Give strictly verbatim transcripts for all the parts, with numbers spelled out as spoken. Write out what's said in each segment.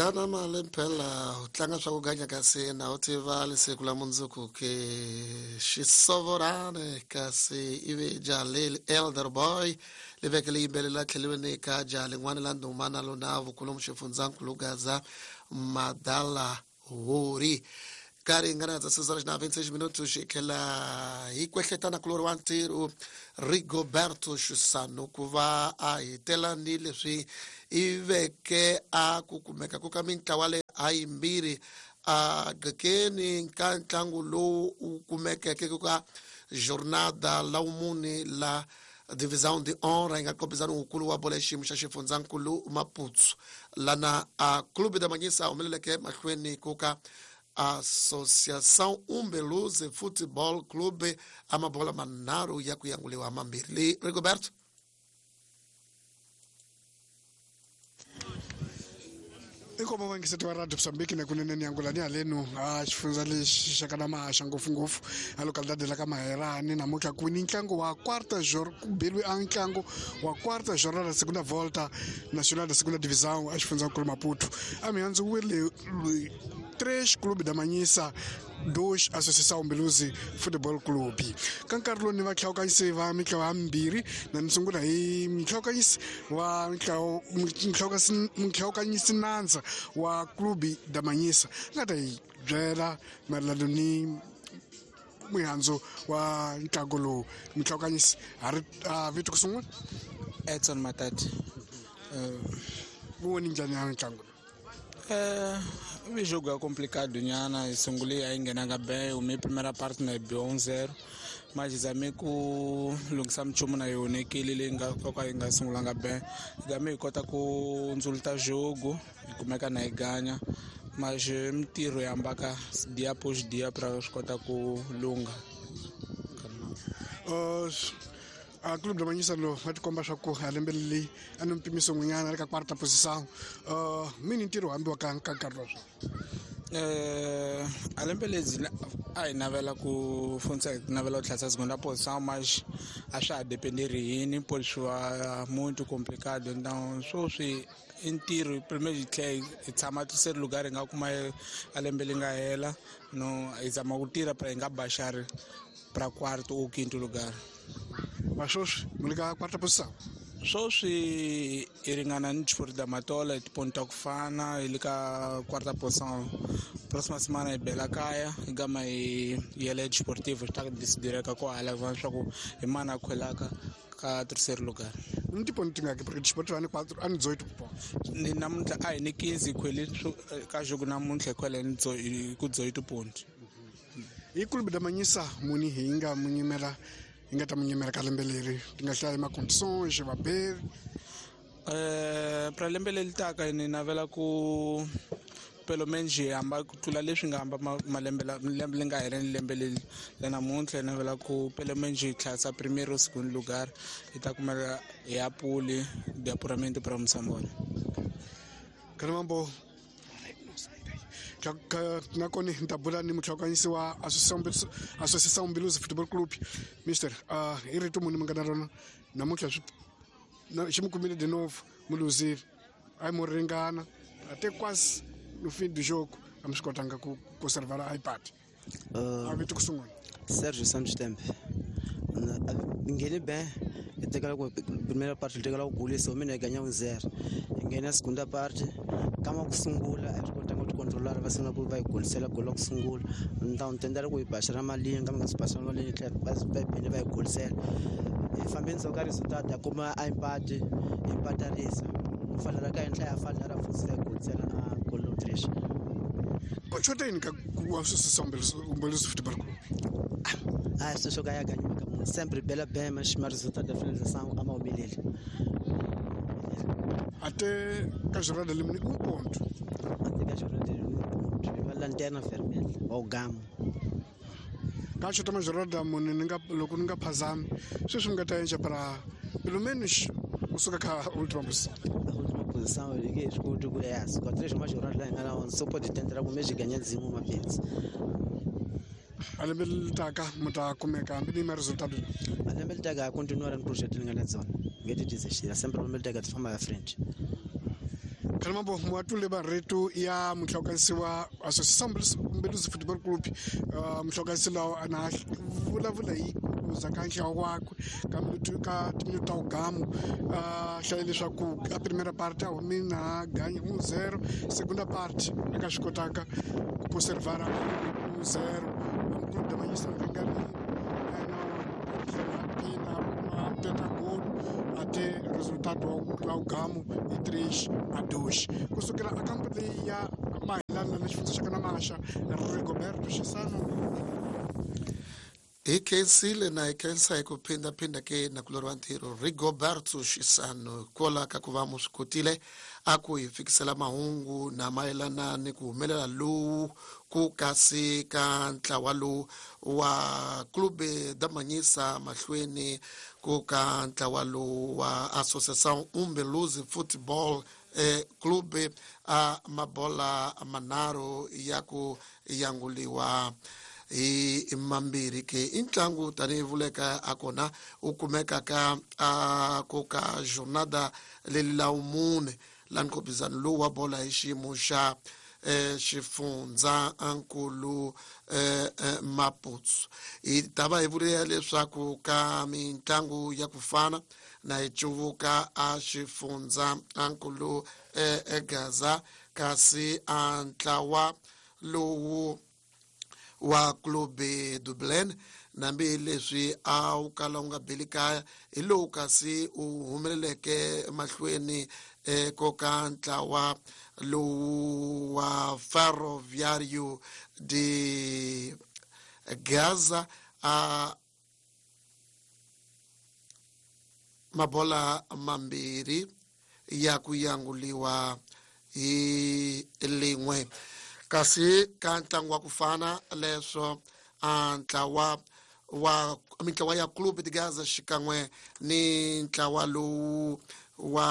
Dlana mali phela u tlanga swa ku ganya kasi na u tiva lesiku la mundzuku ke xisovorani kasi ivi jaha leli elder boy li veke li yimbelela tlheliweni ka jaha lin'wana la ndhuma na lona vukulumu xifundzankulu Gaza Madala Hori ka ringana dza seis horas na vinte e seis minutos xi tlhela hi kwehletana kulori wa ntirho Rigoberto Xusano ku va a hetela ni leswi i veke a ku kumeka ku ka mintlawa leyi a yimbirhi a gqekeni ka ntlangu lowu u kumekeke ku ka jornada la wumune la Divisão de Honra yi nga kombisana wukulu wa bola ya xiyimo xa xifundzankulu Maputo lana a Clube da Manhisa humeleleke mahlweni ku ka Associação Umbeluze Futebol Clube a mabola manharhu ya ku yanguliwa mambirhi le Rigoberto. Inkomo vangiseti wa Radio Mozambique na kunene ni angula ni haleno a xifundza lexi xa ka Mahaxa ngopfungopfu a localidade la ka Maherani namuntlha ku ni ntlangu wa quarta jor ku beliwe a ntlangu wa quarta jornada segunda volta nacional da segunda divisão a xifundzankulu Maputo a mihandzu wile três Clube da Manhisa, dois Associação Umbeluzi Futebol Clube. Ka nkarhi lowu ni va hlawukanyisi va mintlawa yambirhi na ni sungula hi minhlawukanyisi wa minhlawukanyisi nandza wa Clube da Manhisa nga ta hi byela mayelana ni mihandzu wa ntlangu lowu. Minhlawukanyisi ha ri vito ku sungula Edson Matati. Wu voni njhani ya ntlangu lowu? Eh, o jogo é complicado nyana, sungule a yi nghenanga bem, o primeira parte na biwa um zero, mas zame ku lunghisa minchumu na yona ekele leyi nga ka yi nga sungulanga bem, zame hi kota ku ndzuluta jogo hi kumeka na hi ganya, mas mintirho yi hambaka dia após dia pra swi kota ku lungha. Uh, a Clube da Manhisa lo va tikomba swa ku a lembe leyi a ni mpimiso n'winyana ri ka quarta posição uh mini ntirho hambiwa ka ka nkarhi lowu eh a lembe ledzi a hi navela ku fundza hi navela ku tlhasa segunda posição, mas a swa ha dependeri hini pole swi va muito complicado, então sweswi i ntirho primeiro hi tlhela hi tshama terceiro lugar hi nga kuma a lembe li nga hela no hi zama ku tirha pra hi nga baxari pra quarto ou quinto lugar. Mas sweswi mi le ka quarta posição? Sweswi hi ringana ni Chifori da Matola hi tiponto ta ku fana hi le ka quarta posição. Próxima semana hi bela kaya hi gama hi yela Desportivo swi ta decidireka ko hala leswaku hi mani a khwelaka ka terceiro lugar. Ni tiponto tingaki porque Desportivo a ni quatro a ni dezoito pontos. Ni namuntlha a hi ni quinze hi khwele ka jogo namuntlha hi khwele ni ku dezoito ponto. Hi Clube da Manhisa muni hi nga mu nyimela hi nga ta mu nyimela ka lembe leri ti nga hlaya ma-condições vaberi? Eh pra lembe leri taka ni navela ku pelo menos hi hamba ku tlula leswi nga hamba malembe lembe leri nga hela ni lembe leri la namuntlha hi navela ku pelo menos hi tlhasa primeiro segundo lugar hi ta kumela hi ya puli de apuramento pra Moçambola. Kalamambo nakona ni ta bula ni muhlawukanyisi wa Associação Umbeluzi Futebol Clube. Mister, uh, i rito muni mi nga na rona namuntlha xi mi kumile de novo mi luzile a yi mo ringana até quase no fim do jogo a mi swi kotanga ku conservar a ipad. A vito ku sungula Sérgio Santos Tembe. Nghene bem, hi tekela ku primeira parte hi tekela ku golisa mina hi ganya um zero. Hi nghena segunda parte kama ku sungula a swi kotanga ku ticontrolara va sungula ku va hi golisela golo la ku sungula. Então tendela ku hi baxela malini kambe nga swi baxela malini tlhela va va phinde va hi golisela. Hi fambe ndzhaku ka resultado ya kuma a empate hi empatarisa. Ku falela ka henhla ya falela futhi va hi golisela a golo três. Ku xota yini ka ku Associação Umbeluzi Futebol Clube? Ah, sweswo ka ya ganyiwa ka munhu sempre bela bem, mas ma resultado da finalização a ma humeleli. Até ka jornada limini um ponto. Até ka jornada limini um ponto. Hi va lanterna vermelha wa gamo. Ka xota ma jornada mune ni nga loko ni nga phazami sweswi mi nga ta endla para pelo menos kusuka ka última posição. A última posição eu liguei escuto ku é, com três mais jornada lá ngana on só pode tentar com mês ganhar dizimo uma vez. A lembe leri taka mi ta kumeka hambi ni ma resultado. A lembe leri taka continuar no projeto li nga na dzona. Ngete desistir, sempre lembe leri taka ti famba ya frente. Kalimambo mwatule barretu ya muhlaukanisi wa Associação Umbeluzi Football Club uh, muhlaukanisi lawo ana vulavula hi kuza ka nhlawo wakwe ka minutu ka timinutu ta ugamu uh, hlaye leswaku a primera parte a humi na ganya um zero segunda parte eka swi kotaka ku conservara um zero clube da Manhissa ringanile tlhela a pina gol até resultado wa ugamu i três a dois kusukela a kampo leyi ya Mahilana na xifundza xa ka Namasha Rigoberto Xisano hi khensile na hi khensa hi ku phindaphinda ke na ku loriwa ntirho Rigoberto Xisano kwala ka ku va mu swi kotile a ku hi fikisela mahungu na mayelana ni ku humelela lowu ku kasi ka ntlawa lowu wa Clube da Manhissa mahlweni ku ka ntlawa lowu wa Associação Umbeluzi Football eh, Clube a mabola manharhu ya ku yanguliwa hi mambirhi ke i ntlangu tanihi vuleka a kona u kumeka ka a ku ka jornada leli la mune la nkhopizano lowu wa bola hi xiyimo xa eh, xifundza nkulu eh, eh, Maputo hi ta va hi vulela leswaku ka mitlangu ya ku fana na hi cuvuka a xifundza nkulu eh, Gaza kasi a ntlawa lowu wa Clube do Belém nambi leswi a wu kala wu nga beli kaya hi lowu kasi u humeleleke mahlweni ko ka ntlawa lowu wa Ferroviário de Gaza a mabola mambirhi ya ku yanguliwa hi lin'we kasi ka ntlangu wa ku fana leswo a ntlawa wa mintlawa ya Clube de Gaza xikan'we ni ntlawa lowu wa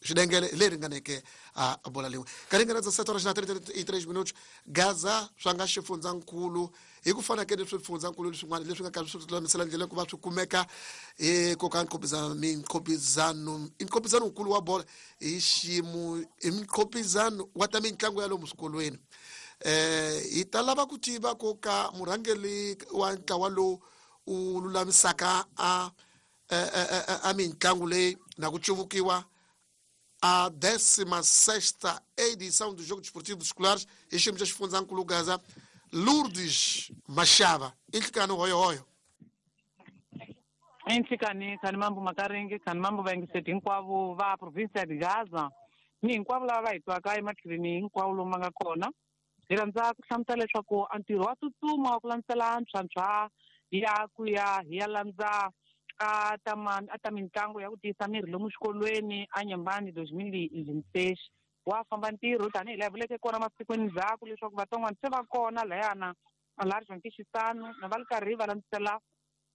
xidengele leri ringaneke a bola lin'we ka ringana dza sete horas na trinta e três minutos Gaza swa nga xifundzankulu hi ku fana ke ni swifundzankulu leswin'wana leswi nga karhi swi lulamisela ndlela ku va swi kumeka eko ka nkhopizano minkhopizano i nkhopizano wukulu wa bola hi xiyimo i nkhopizano wa ta mitlangu ya lomu swikolweni eh hi ta lava ku tiva ko ka murhangeri wa ntlawa lowu u lulamisaka a a mitlangu leyi na ku cuvukiwa a décima sexta edição do Jogo Desportivo Escolares hi xiyimo xa xifundzankulu Gaza Lourdes Mashava i nhlikani hoyohoyo i nhlikani khani mambo makaringi khani mambo vayingiseti hinkwavo va provinsia de Gaza ni hinkwavo lava va hi twaka ematlhelweni hinkwawo lomu va nga kona hi rhandza ku hlamusela leswaku a ntirho wa tsutsuma wa ku landzela ntlhantlha ya ku ya hi ya landza a ta ma a ta mitlangu ya ku tiyisa miri lomu xikolweni a Nyembani dois mil e vinte e seis wa famba ntirho tanihi laha vuleke kona masikwini ndzhaku leswaku vatsongwana se va kona layana laha João Xisano na va ri karhi va landzela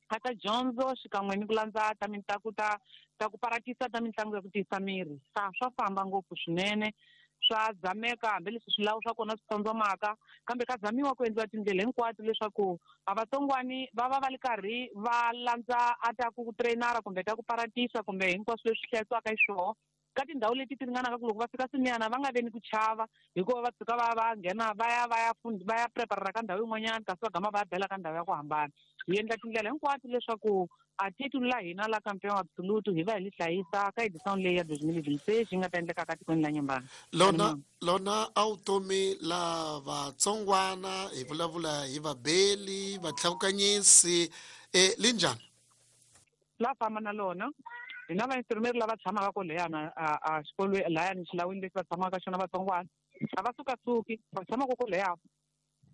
a ta dyondzo xikan'we ni ku landza ta mitlangu ta ta ku parakisa ta mitlangu ya ku tiyisa miri sa swa famba ngopfu swinene swa zameka hambileswi swilawu swa kona swi tsondzomaka kambe ka zamiwa ku endliwa tindlela hinkwato leswaku a vatsongwani va va va ri karhi va landza a ta ku trainara kumbe ta ku paratisa kumbe hinkwaswo leswi hlayisiwaka hi swoho ka tindhawu leti ti ringanaka ku loko va fika swiniyana va nga ve ni ku chava hikuva va tshuka va va nghena va ya va ya va ya preparera ka ndhawu yin'wanyana kasi va gama va ya bela ka ndhawu ya ku hambana hi endla tindlela hinkwato leswaku a titulu la hina la campeão absoluto hi va hi li hlayisa ka edição leyi ya dois mil e vinte e seis yi nga ta endleka ka tikweni la Nyembani lona lona a vutomi la vatsongwana hi vulavula hi vabeli vatlhawukanyisi e linjhani la famba na lona hina vainstrumeri lava tshamaka koleyana a xikolweni lahayani xilawini lexi va tshamaka ka xona vatsongwana a va sukasuki va tshamaka koleya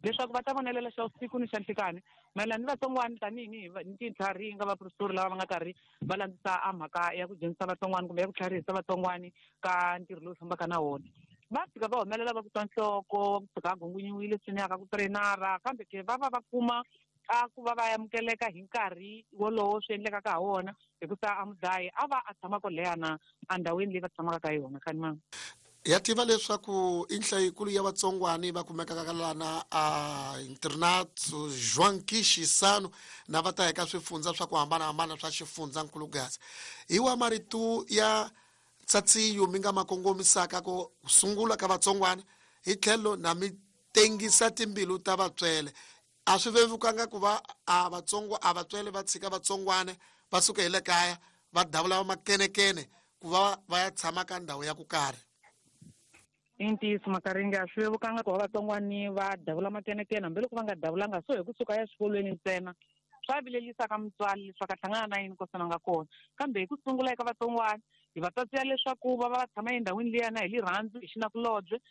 leswaku va ta vonelela xa vusiku ni xa nhlikani mayelana ni vatsongwana tanihi ni ni tintlhari yi nga vaprofesori lava va nga karhi va landzisa a mhaka ya ku dyondzisa vatsongwana kumbe ya ku tlharihisa vatsongwani ka ntirho lowu fambaka na wona va fika va humelela va ku twa nhloko va kusuka a gungunyiwile swinene ka ku trainara kambe ke va va va kuma a ku va va amukeleka hi nkarhi wolowo swi endlekaka ha wona hikusa a mudlayi a va a tshama koleyana endhawini leyi va tshamaka ka yona khani mama ya tiva leswaku i nhlayikulu ya vatsongwani va kumekaka ka lana a internato João Xisano na va ta eka swifundza swa ku hambanahambana swa xifundzankulu Gaza hi wa marito ya tsatsiyo mi nga ma kongomisaka ku sungula ka vatsongwana hi tlhelo na mi tengisa timbilu ta vatswele a swi vevukanga ku va a vatsongo a vatswele va tshika vatsongwana va suka hi le kaya va davula va makenekene ku va va ya tshama ka ndhawu ya ku karhi. I ntiyiso Makaringe, a swi vevukanga ku va vatsongwani va davula makenekene, hambiloko va nga davulanga so hi kusuka ya xikolweni ntsena swa vilerisaka mutswari leswaku a hlangana na yini kosana nga kona. Kambe hi ku sungula eka vatsongwana hi va tsatsiya leswaku va va va tshama endhawini liyana hi rirhandzu, hi xinakulobye va.